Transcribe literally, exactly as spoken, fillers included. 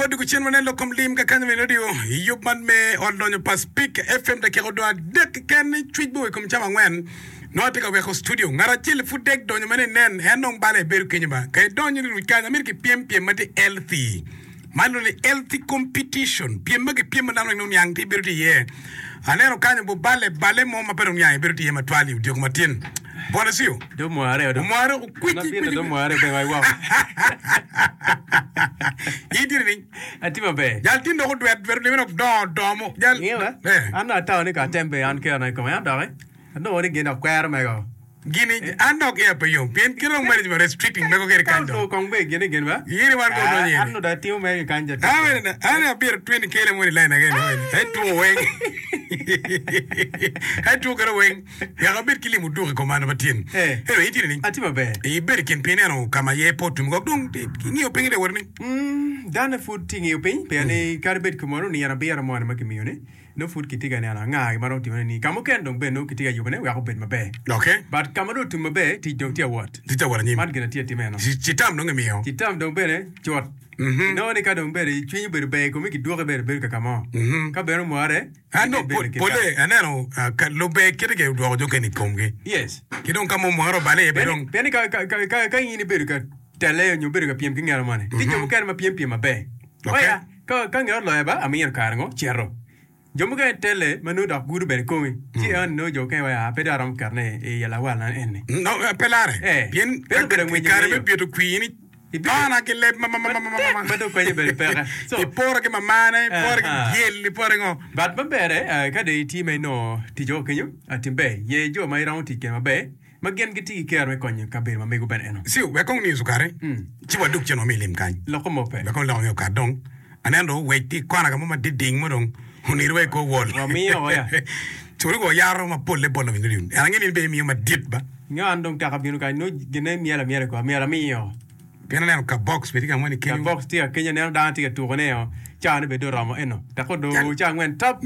Wadwogo cen wanen lok kom lim kakany me radio i yub man me ot lonyo pa Spik FM dakika odong adek keken ni cwic bor i kom cawa angwen. Nongo atye ka weko studio. Ngat acel pud dek donyo ma ni nen en dong bale ebedo kenyo ba. Ka idonyo ni ruc kany amito ki pyem pyem ma tye healthy. Man lwongo ni healthy competition. Pyem ma kipyem ma dano weng nongo niang tye bedo tye iye. Aneno kany obubale bale mo ma pe dong niang bedo tye iye matwal i odyeko matin. Bwana Cio. Do mware odo. Omware okwici Mabino kwici. do mware be wa iwoko. In tye nining? Atye maber. Jal tin dok odwet dwet olime dok dongo dongo mo. Jal. Ingeyo ba? Eh. An dong atawo ni ka atembe an kerona i kome. An doki anongo ni gin dok kwero mego. Gini an dok iya pe yom pien kit dong management restricting mego kede Ka kany dong. onongo kong be gine gin ba? Yini wan ko Ah, donyo an yini. onongo dong atimo mere ki kany ja An bene an abiro twenty kele mo ni line again wen. Ai two weng. Ai two kede weng. Wek abed ki lim oduk i kom an matin. Eh. Anyway, in tye nining? Atye maber. Ibedo i kin piny ineno ka ma iye pe otum kok dong ingiyo piny ite wot ni. Mm, dane pud tye ngiyo piny pien ni kadi bed kumeno nino abiro moni ma kimiyo ni nongo pud kitye ka neno anga ma romo timone ni ka mukene dong bene nongo kitye ka yubone wek obed maber. Okay. But ka ma dong otum maber tic dong tye awot. Tic tye awot anyim. Man gin atye atima eno. Citam dong imiyo. Citam dong bene cut. Mhm. Inongo ni ka dong bene cwinyi obedo ber i komi kidwoki bene bedo kaka mo. Mhm. Ka bene omware An dong bene pol, pole aneno ah, ka lube kite ke odwoko jo kene i komgi. Yes. Ki dong ka mo omware obale iye be Pien dong. pien ni ka ka ka ka ka in ibedo ka tele nyo ibedo ka pyem ki ngat moni, tye jo mukene ma pyem pyem maber. Okay. Oya, ka ka ngat oloya ba amiro kare ngo cito. Jo mukene tele ma nongo dok gudo bene komi. Ci en nongo jo mukene waci, ah pe dong aromo ketone i lawal na eni. No, eh, pe lare. Eh, Pien pien obedo i ngwinyo kare me ngweyo. bito kwir ni Ibido tona ki leb ma ma ma ma ma ma ma. matek ma dong konye bene peke. So, Iporo ki mamane, iporo ki aha. dyel, iporo ki ngo. But maber eh, ka dong itye ma inongo tic woko kenyo, ah, tim ber. Ye jo ma iromo tic kwede maber, ma gin gitye ki kero me konyo kabedo ma mego bene eno. Ci wek kong news okati, Mm. ci wadug cen wami lim kany. Loko mo pe. Wek kong loko nge okat dong. Aneno dong owec tye i kona ka mo ma diding mo dong oniro wa i kor wol. Wamiyo o ya. Ci wek wayaro mapolle bot lawiny radio. En ange ni in be imiyo madit ba. Nga an dong taka bino kany nongo gine myel amyela i kor myel amiyo. Pien aneno ka box be tye ka mo ni Ka kenyo. box tye ka kenyo aneno dano tye ka tukone o. Cawa ni bene dong oromo eno. Dok odong Jal cawa angwen tap.